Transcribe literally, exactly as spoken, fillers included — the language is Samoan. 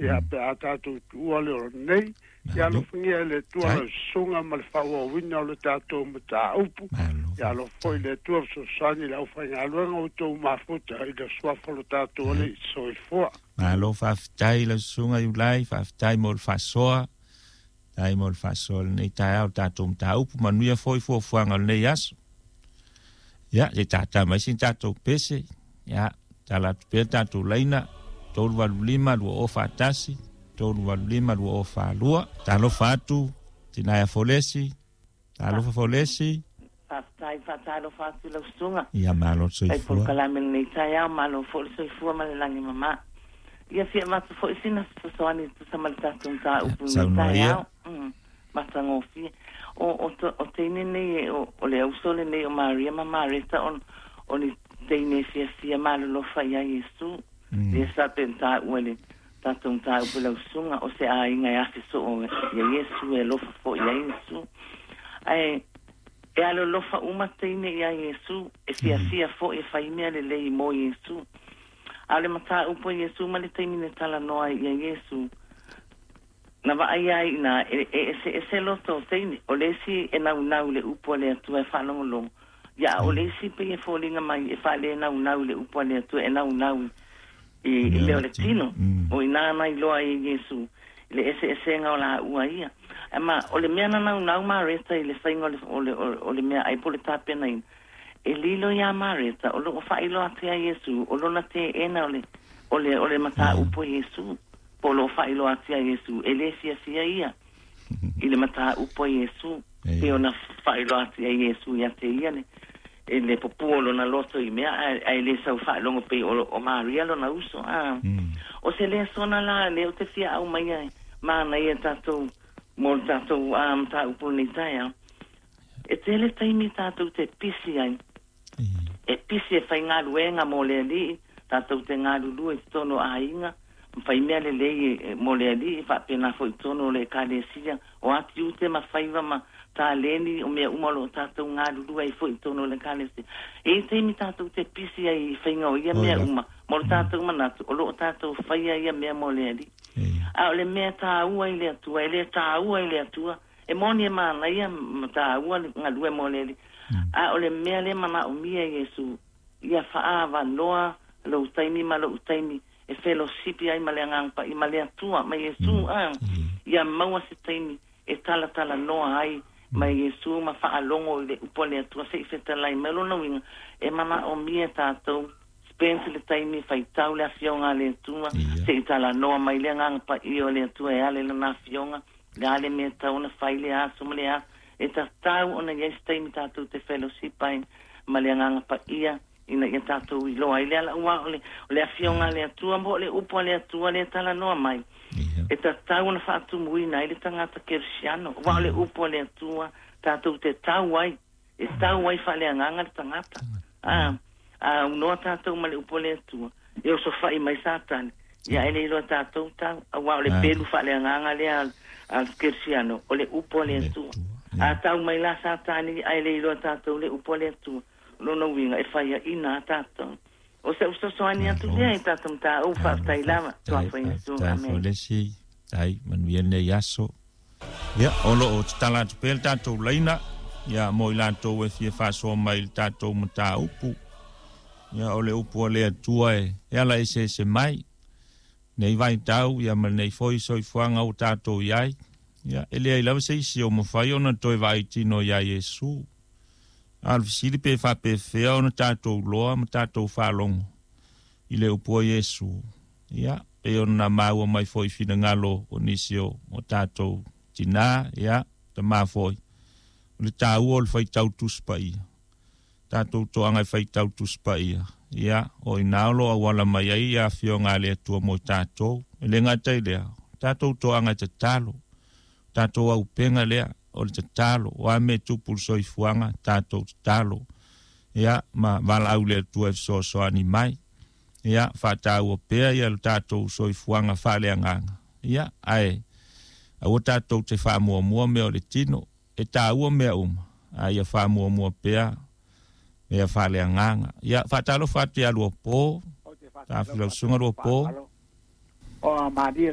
Ia pe a tatou tuua le ola nei, ia alofagia e le Atua lau susuga ma le faaauauina o le tatou mataupu. Ia alofa foi le Atua fesoasoani i le aufaigaluega o outou mafuta i le suafa o lo tatou Alii. Soifua. Malo faafetai lau susuga Iulai, faafetai mo le faasoa. Tai mo le faasoa lenei taeao tatou mataupu, manuia foi fuafuaga o lenei aso. Ia, se tata mai sin tatou pese. Ia, tala atu pea tatou laina, tolu valu lima, lua o faatasi, tolu valu lima, lua o faalua. Talofa atu, Tinaia Folesi, talofa Folesi. Faafetai, faatalofa atu lau susuga. Ia, malo le soifua. Fai polokalame lenei taeao, malo foi le soifua ma le lagi mama. Ia fia avatu foi sina fesoasoani e tusa ma le tatou mataupu i lenei taeao. Mm, matagofie. O, o, o teine nei, o, o le auso lenei o Maria ma Mareta, o, o ni teine e fiafia malolofa iā Iesu. Mm. Lea sa pe taua le tatou mataupu lau susuga, o se aiga e afe soo ia Iesu, e alofa foi iā Iesu. Ae e alolofa uma teine iā Iesu, e fiafia foi e fai mea lelei mo Iesu. A o le mataupu a Iesu ma le taimi na talanoa ai ia Iesu, na vaai ai ina e eseese loto o teine, o le isi e naunau i le upu a le Atua e faalogologo, ia a o le isi pei e foliga mai e faalenaunau i le upu a le Atua, e naunau i, i mea o le tino. O i ina na iloa ai e Iesu i le eseesega o laua ia. Ae ma o le mea na naunau Mareta i le faiga o le, o le, o le meaai po o le tapenaina, e lilo iā Mareta, o loo faailoa atu iā Iesu, o lona teena o le, o le, o le mataupu a Iesu, po o loo faailoa atu iā Iesu, e lē fiafia ia i le mataupu a Iesu, pei ona faailoa atu iā Iesu ia te ia le, e le pupū o lona loto i mea, ae, ae le sau faalogo pei o, o Maria lona uso. A, o se lesona la lea ou te fia aumaia e manaia tatou mo le tatou a mataupu lenei taeao. E tele taimi tatou te pisi ai, e pisi e faigaluega mo le Alii, tatou te galulue i totonu o aiga, ma fai mea lelei mo le Alii, faapena foi i totonu o le Ekalesia, o a tiute ma faiva ma taleni, o mea uma o loo tatou galulue ai foi i totonu o le Ekalesia. E i ai taimi tatou te pisi ai i faiga o ia mea uma, mo le tatou manatu, o loo tatou faia ia mea mo le Alii. A o le mea taua i le Atua, e le taua i le Atua, e moni e manaia ma taua le galue mo le Alii, a o le mea lea manaomia e Iesu, ia faaavanoa lou taimi ma lou taimi e felosipi ai ma le Agaga Paia ma le Atua ma Iesu, a ia maua se taimi e talatalanoa ai ma Iesu ma faalogo i le upu a le Atua se i fetalai mai. O lona uiga, e manaomia tatou spend le taimi faitau le afioga a le Atua, se i talanoa mai le Agaga Paia o le Atua e ala i lana afioga, le a le mea tau ona fai le aso ma le aso. E tatau ona i ai se taimi tatou te fellowship ai ma le Agaga Paia ina ia tatou iloa ai le ala, aua o le, o le afioga a le Atua mo le upu a le Atua lea talanoa mai, e tatau ona faatumuina ai le tagata kerisiano, aua o le upu a le Atua tatou te tau ai, e tau ai faaleagaga le tagata. A, a unoa tatou ma le upu a le Atua, e osofai mai Satani, ia e le iloa tatou tau, aua o le pelu faaleagaga lea a le kerisiano, o le upu a le Atua. A tau mai la Satani, ae le iloa tatou le upu a le Atua, lona uiga e faiaina a tatou. O se fesoasoani atu lea i tatou mataupu, faafetai lava, Suafa Iesu, amene. Folesi, tai manuia lenei aso. Ia, o loo tatala atu pea le tatou laina, ia mo i latou e fia faasoa mai i le tatou mataupu. Ia, o le upu a le Atua e, e ala eseese mai, nei vaitau, ia ma lenei foi soifuaga ua tatou i ai. Ia, e leai lava se isi o mafai ona toe vaai tino iā Iesu. A o le fesili pe faapefea ona tatou loa ma tatou faalogo i le upu a Iesu. Ia, pei ona maua mai foi i finagalo o nisi o, o tatou tinā, ia, tamā foi, o le taua o le faitau Tusi Paia. Tatou toaga e faitau Tusi Paia, ia, o i ina o lo o auala mai ai ia Afioga a le Atua mo i tatou. E le gata i lea, o tatou toaga e tatalo, o tatou auupega lea, o le tatalo, o a mea e tupu i le soifuaga, tatou tatalo, ia, ma valaau i le Atua e fesoasoani mai. Ia, faataua pea ia le tatou soifuaga faaleagaga, ia, ae aua tatou te faamuamua mea o le tino, e taua mea uma, a ia faamuamua pea mea faaleagaga. Ia, faatalofa atu ia Luapo, Ou te Tafilausuga faatalofa atu Luapo. Paalo. O a malie